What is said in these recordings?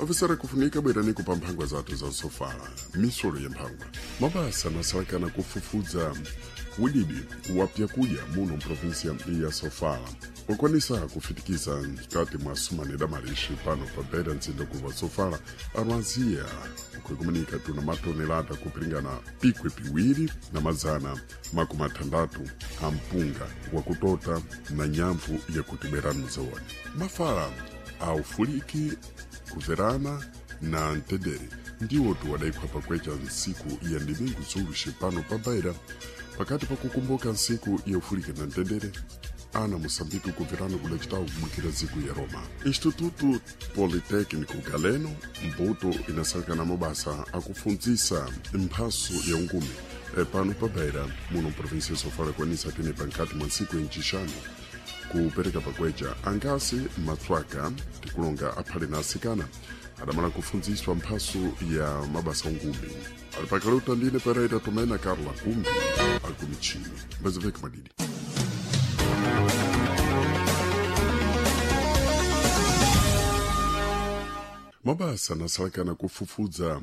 Ofisera kufunika bwerani kupa mphangwa zathu za sofala, misolo ya mphangwa. Mabasa anasalakana kufufudza udidi wa pyakudya muno mprovinsia ya Sofala. Wakwanisa kufitikiza mkati mwa sumane damalishi pano pa bera mzinda kuva Sofala arwaziya ukwekumanika tuna matonelada kupilingana pikwe piwiri na mazana makumi atandatu a mpunga wakutota na nyamvu yakutiberanu zawoni. Mafala a ufuliki kuverana na mtendere ndiwo tuwadaikwa pakwecha nsiku ya ndimingu zuluxi pano pa Beira pakati pa kukumbuka nsiku ya ufuliki na mtendere ana Moçambique kuverana kudacitawo kubwikira dziko ya Roma. Instituto Politécnico Galeno mbuto inasalekana mabasa akufundzisa mphaso ya ungumi pano pa Beira muno mprovinsia ya Sofala kwanisa tenepa nkati mwa ntsiku ya ncixanu kupereka pakwecha angasi matswaka tikulonga aphale na asikana adamala kufundziswa mphaso ya mabasa ungumi. Alipakaluta ndine Pereira Tomena Carla Kumbi alikumichini mbaziveka madidi. Mabasa anasalakana kufufudza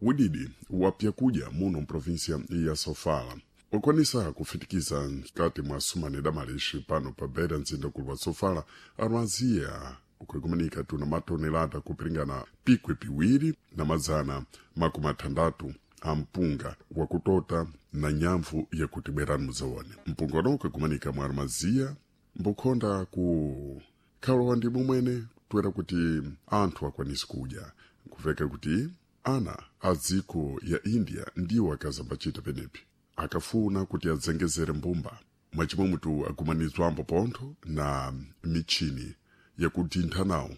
udidi wa pyakudya muno mprovinsia ya Sofala. Wakwanisa kufitikiza mkati mwa sumane damalishi pano pa Beira mzinda kulu wa Sofala arwaziya ukwekumanika tuna matonelada kupilingana pikwe piwiri na mazana makumi atandatu a mpunga wakutota na nyamvu yakutibwerani muzawone. Mpunga uno ukwekumanika mwa armaziya mbukhonda ku khalowa ndi mumwene toera kuti anthu akwanise kudya nkuveka kuti ana a dziko ya India ndiwo akazambachita penepi akafuna kuti adzengezere mbumba mwachimwemutu agumanizwambo pontho na michini yakutintha nawo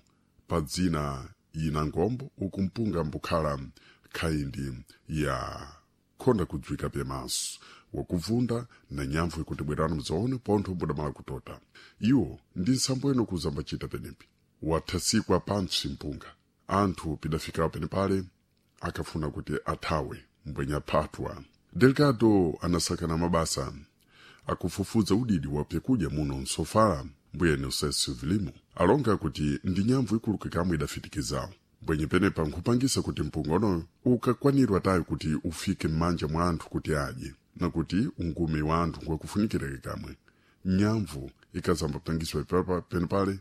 pa dzina ina ngombo uku mpunga mbukhala khaindi ya khonda kudzwika pyamaso wakuvunda na nyamvu ikuti bwerani mudzaone pontho mbudamala kutota. Iwo ndi nsambo ino kuzambachita penepi wathasikwa pantsi mpunga anthu pidafikawo penepale akafuna kuti athawe mbwenya phathwa. Delgado anasakana mabasa akufufudza udidi wa pyakudya muno msofala mbuyeni usesi vilimo alonga kuti ndi nyamvu ikuluka kamwe idafitikizawo mbwenye penepa nkhupangisa kuti mpunga unoyo ukakwanirwa tayo kuti ufike m'manja mwa anthu kuti adye na kuti ungumi wa anthu ngwakufunikireke kamwe. Nyamvu ikazambapangiswa penepale.